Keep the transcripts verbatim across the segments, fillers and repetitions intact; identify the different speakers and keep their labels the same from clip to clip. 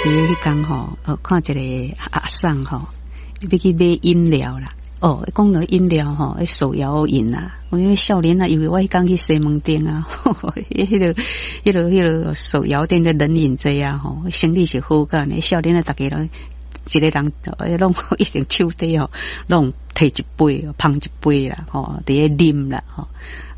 Speaker 1: 佇彼工吼，哦，看一个阿桑吼，欲去買飲料啦。哦，講到飲料吼，手搖飲啊，我因為少年啊，因為我彼工去西門町啊，彼個、彼個、彼個手搖店的冷飲濟啊，吼，生意是好甲呢。少年啊，逐家攏一个人，攏一定手底吼，攏提一杯，捧一杯啦，吼，佇咧啉啦，吼。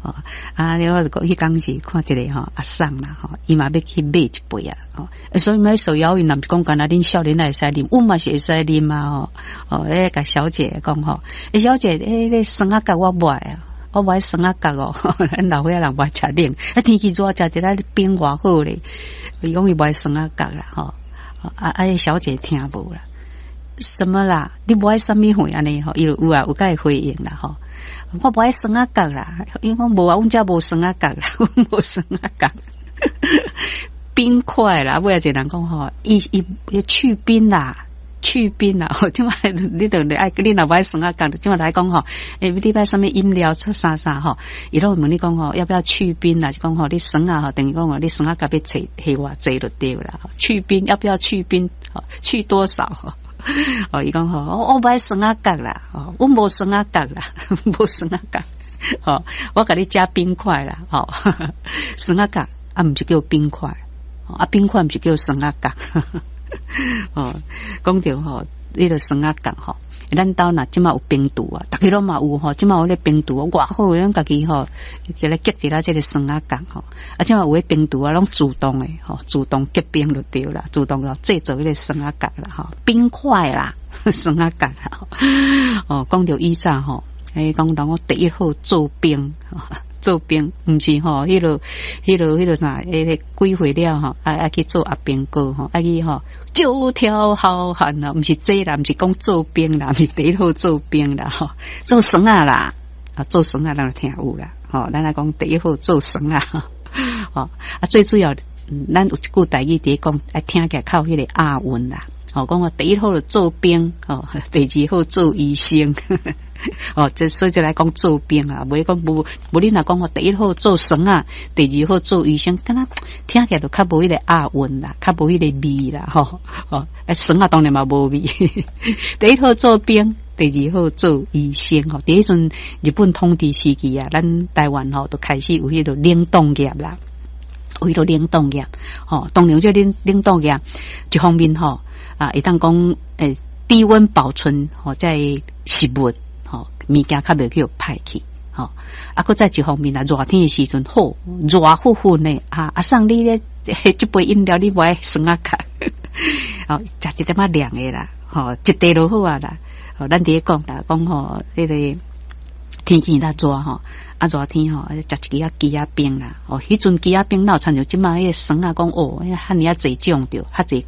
Speaker 1: 哦，啊，你我就講彼工是看一个吼阿桑啦，吼，伊嘛欲去買一杯啊，吼，所以買手搖飲，若毋是講干焦恁少年仔會使啉，阮嘛是會使啉啊，吼，哦，咧共小姐講吼，欸，小姐，欸，咧酸仔角我無愛啊，我無愛酸仔角哦，咱老歲仔人無愛食冷，啊，天氣熱食一下冰偌好咧，伊講伊無愛酸仔角啦，吼，啊啊，小姐聽無啦，什麼啦？你無愛啥物貨按呢？吼，伊就有啊，有共伊回應啦，吼。我無愛酸仔角啦，伊講無啊，阮遮無酸仔角啦，阮無酸仔角，冰塊啦，尾仔一個人講吼，伊伊伊去冰啦，去冰啦，這擺你著愛，你若無愛酸仔角，這擺來講吼，欸，你欲啥物飲料出啥啥吼，伊攏會問你講吼，要不要去冰啦？就講吼，你酸仔吼，等於講吼，你酸仔角欲加偌濟就對啦，去冰要不要去冰？去多少？哦，伊講吼，我無愛酸仔角啦，哦，阮無酸仔角啦，無酸仔角，哦，我共你加冰塊啦，吼，酸仔角啊，毋是叫冰塊，啊，冰塊毋是叫酸仔角，哦，講著吼，彼个酸仔角吼，咱兜若這馬有冰櫥啊，逐家攏嘛有吼，這馬有咧冰櫥，偌好，咱家己吼，叫來結一下這个酸仔角吼，啊，這馬有咧冰櫥啊，攏自動的吼，自動結冰就對啦，自動哦製造彼个酸仔角啦，吼，冰塊啦，酸仔角啦，哦，講著以前吼，欸，講人講第一好做兵。做兵毋是吼，彼个、彼个、彼个啥？彼个幾歲了吼？愛愛去做阿兵哥吼，愛去吼九條好漢啊！毋是這啦，毋是講做兵啦，毋是第一好做兵啦，吼，做耍仔啦，啊，做耍仔咱就聽有啦，吼，咱來講第一好做耍仔，吼，啊，最主要，咱有一句台語佇咧講，愛聽起來較有彼個押韻啦，吼，講我第一好做兵，吼，第二好做醫生。哦，這所以就來講做兵啊，袂講無無你若講我第一好做耍仔，第二好做醫生，敢若聽起來就較無彼個押韻啦，較無彼個味啦，吼吼，啊耍仔當然嘛無味。第一好做兵，第二好做醫生，吼，佇彼陣日本統治時期啊，咱台灣吼就開始有彼個冷凍業啦，有彼個冷凍業，吼，當然這冷冷凍業一方面吼啊，會當講欸低溫保存吼，這食物。吼，物件較袂去予歹去，吼，啊，閣再一方面啊，熱天的時陣好熱乎乎呢，啊，阿桑你咧這杯飲料你無愛酸仔角，哦，食一點仔涼的啦，吼，一塊就好啊啦，吼，咱佇咧講啦，講吼，彼個天氣較熱吼，啊熱天吼，食一支仔枝仔冰啦，哦，彼陣枝仔冰哪有親像這擺彼個酸仔講哦，遐爾仔濟種著，較濟。